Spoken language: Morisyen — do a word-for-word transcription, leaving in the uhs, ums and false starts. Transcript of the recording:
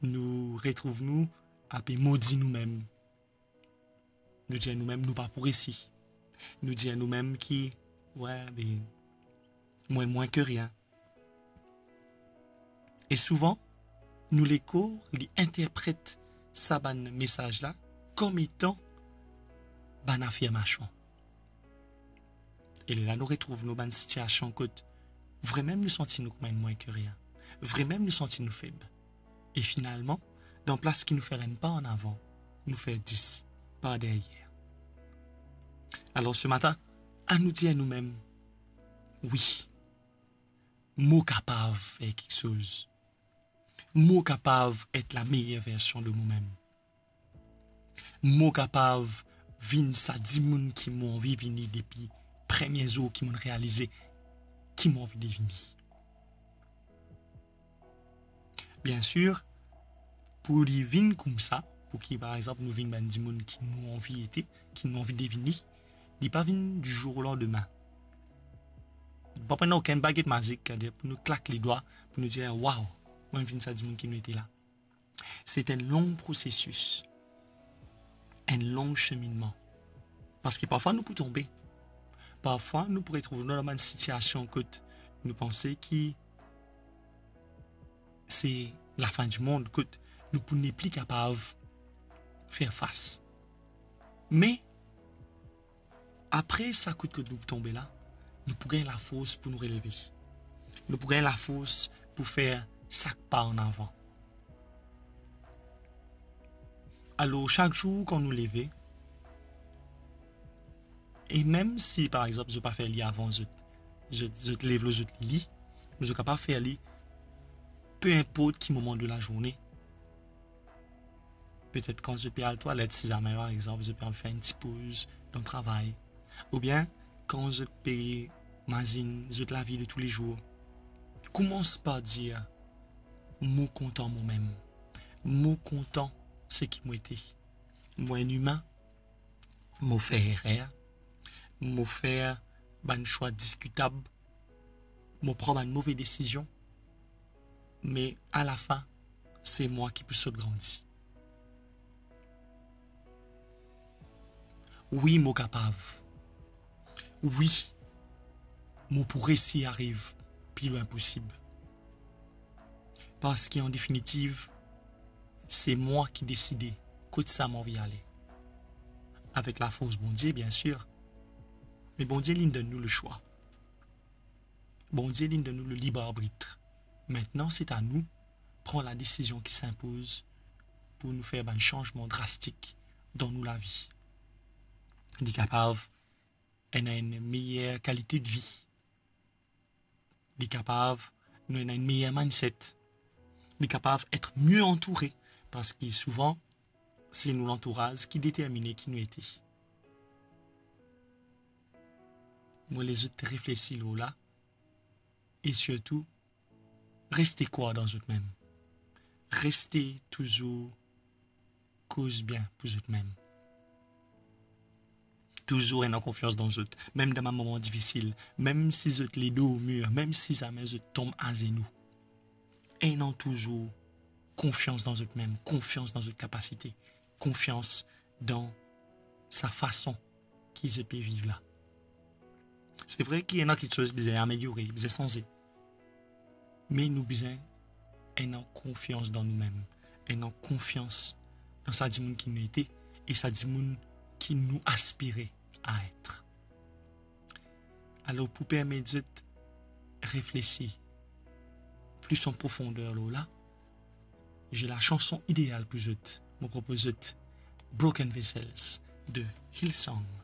nou retrouv nou ape modi noumem. Nou dir noumem nou pa pou resi. Nou dir noumem ki, we, be, mwa, mwin ke rien. E souvan, nou lekor li interpret sa bann mesaz la kom etan bann afirmasion. E lerla nou retrouv nou bann sitiasion kot vremem nou santi nou kouma enn mwin ke rien. Vremem nou santi nou feb. E finalman, dan plas ki nou fer enn pa an avan, nou fer dis pa deryer. Alor, se matin, anou dir noumem, wi, mo kapav fer kiksoz. Mo kapav et la meyer version de momem. Mo kapav vinn sa dimoun ki mo anvi vini depi premie zour ki mo'nn realize ki mo anvi devini. Biensir, pou li vinn koumsa, pou ki, par exanp, nou vinn bann dimoun ki nou anvi ete, ki nou anvi devini, li pa vinn du jour au lendemain. Li pa pran okenn baget mazik, setadir pou nou klak ledwa, pou nou dir, "Waw, mo vinn sa dimoun ki mo ete la." Se enn long prosesis, enn long seminnman. Parski parfwa nou pou tonbe. Parfwa nou pou retrouv nou dan bann sitiasion kot nou panse ki se lafin di mond, kot nou pou nepli kapav fer fas. Me apre sa kout kot nou pou tonbe la, nou pou gagn lafors pou nou releve. Nou pou gagn lafors pou fer sak pa an avan. Alor, sak zour kan nou leve, e mem si, par exanp, zot pa fer li avan zot, zot, zot lev lor zot lili, me zot kapav fer li pe inport ki moman de lazourne. Petet kan zot pe al twalet, si zame, par exanp, zot pe anvi fer enn ti poz dan travay, oubien kan zot pe mazinn zot lavi de toulezour, koumans par dir, "Mo kontan momem. Mo kontan seki mo ete. Mo enn imin, mo fer erer, mo fer bann swa diskitab, mo pran bann move desizion, me alafin, se mwa ki pou sot grandi. Wi, mo kapav. Wi, mo pou resi ariv pli lwin posib. Parski, an definitiv, se mwa ki deside kot sa mo anvi ale. Avek lafors Bondie, biensir. Me Bondie, linn donn nou leswa. Bondie, linn donn nou le lib arbit. Aster, se a nou pran la desizion ki sinpoz pou nou fer bann sanzman drastik dan nou lavi. Li kapav ena enn meyer kalite de vi. Li kapav nou ena enn meyer mindset. Li kapav et mie antoure, parski souvan, se nou lantouraz ki determine ki nou ete. Mo les zot reflesi lor la, e sirtou, reste krwar dan zot mem. Reste touzour koz bien pou zot mem. Touzour ena konfians dan zot, mem dan bann moman difisil, mem si zot ledo o mir, mem si zame zot tom azenou. Ena touzour konfians dan zot mem, konfians dan zot kapasite, konfians dan sa fason ki zot pe viv la. Se vre ki ena kiksoz bizin ameliore, bizin sanze. Me nou bizin ena konfians dan nou mem, ena konfians dan sa dimoun ki nou ete e sa dimoun ki nou aspire a et. Alor, pou permet zot reflesi plis an profonder lor la, j'ai la chanson ideal pou zot. Mo propoz zot Broken Vessels de Hillsong.